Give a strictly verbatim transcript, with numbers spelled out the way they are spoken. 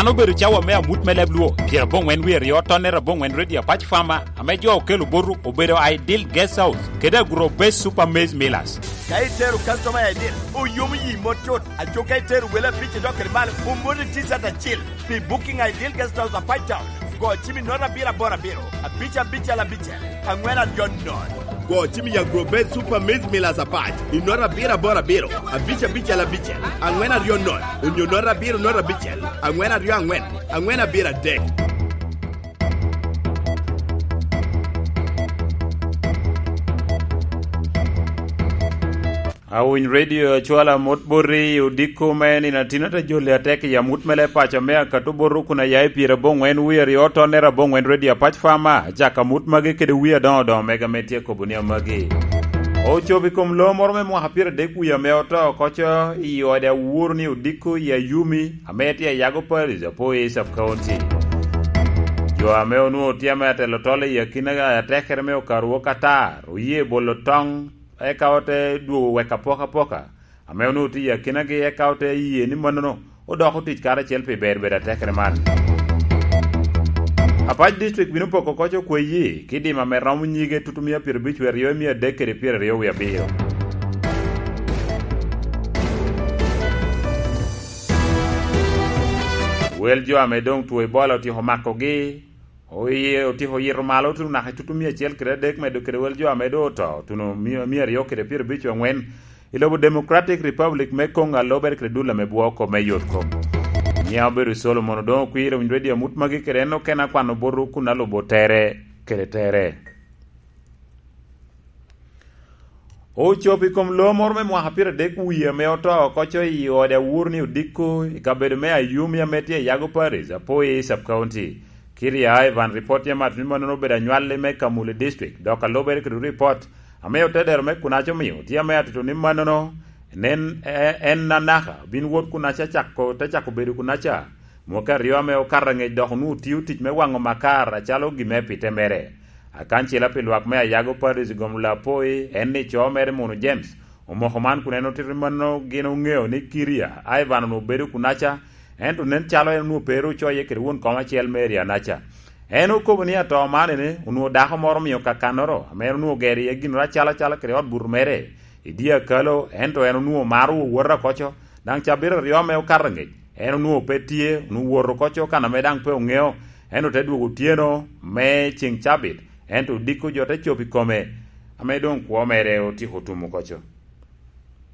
An obedo cawa me amut me leb Luo, pyerabongwen wie aryo, tonnere abongwen redio apac fama, ame jo okelo botu obedo Ideal Guest House kede Agro Base Super Maize Millers. Ka itero customer i Ideal, oyomo yi mot cut. Aco ka itero wele abic idok kede malo, omoni T-shirt acil. Pi booking Ideal Guest House apac town, go cim i nota abiro aboro abiro, abic abicel abicel, angwen aryo nono. Go cim i Agro Base Super Maize Millers apac i nota abiro aboro abiro, abic abicel abicel, angwen aryo nono, onyo nota abiro nota abicel, angwen aryo angwen, angwen abiro adek. Awiny redio acwala mot boti odiko me nino atin ata joli atek i amut me leb paco me akato boto kun aya i pyerabongwen wie aryo tonnere abongwen redio apac fama, acako amut magi kede wie adoŋo doŋo mega me tye kobo ni amagi. Ocobo i kom lo moro me mwaka pyeradek wie ame oto oko co i ode awuro ni odiko i Ayumi ame tye i Yago Parish, Apo East Sub County. Jo ame onwoŋo tye ame atelo tol i akina atekere me okaru wok atar oye bolo toŋ, eka ote dwogo wek apokapoka ame onwoŋo tye i akinagi, eka ote ye ni mannono odoko tic karacel pi ber bedo atekere man. Apac District bino poko koc okweyi ki dimo ame romo nyige tutumia pyerabic wie aryo i mia adek kede pyeraryo wie abiro. Wel jo ame doŋ two Ebola otyeko makogi, oye otyeko yito malo tuno naka i tutumia acel kede adek medo kede wel jo ame doŋ oto tuno mia, mia aryo kede pyerabic wie angwen i lobo Democratic Republic me Congo, alobere kede dul ame bwoo kop me yot kom. Nyiŋa obedo Solomon Odoŋo Okwir, owiny redio amut magi kede en okene akwano boto kun alubo tere kede tere. Ocobo i kom lo moro me mwaka pyeradek wie ame oto oko co i ode awur ni odiko i kabedo me Ayumi ame tye i Yago Parish, Apo East Sub County. Kiria Ivan, ripot tye mat ni mannono obedo anywalli me Kamuli District, dok alubere kede ripot ame otedero me Kunaca omio tye ame atito ni mannono nen, e-, en anaka bin wot Kunaca cako, te cako bedo Kunaca mwaka aryo ame okato angec, dok onwoŋo tio tic me waŋo makar acalo gin me pite mere. Akancila pi lwak me Ayago Parish gom lapoi en ni co mere Munu James omoko man kun en otito ni mannono gin oŋeo ni Kiria Ivan onwoŋo bedo Kunaca, ento nen calo en onwoŋo pe ru ocoye kede won kom acel me area Naca. En okobo ni ato man ene onwoŋo dako moro omio kakannoro ame en onwoŋo gero iye ginoro acalo acalo kede ot buto mere i dye akalo, ento en onwoŋo maro wowota oko co, daŋ cabit aryo ame okato angec, en onwoŋo pe tye, onwoŋo wot oko co kan ame daŋ pe oŋeo, ento te dwogo otyeno me ceŋ cabit, ento odiko jo te cobo i kome, ame doŋ kwo mere otyeko otum oko co.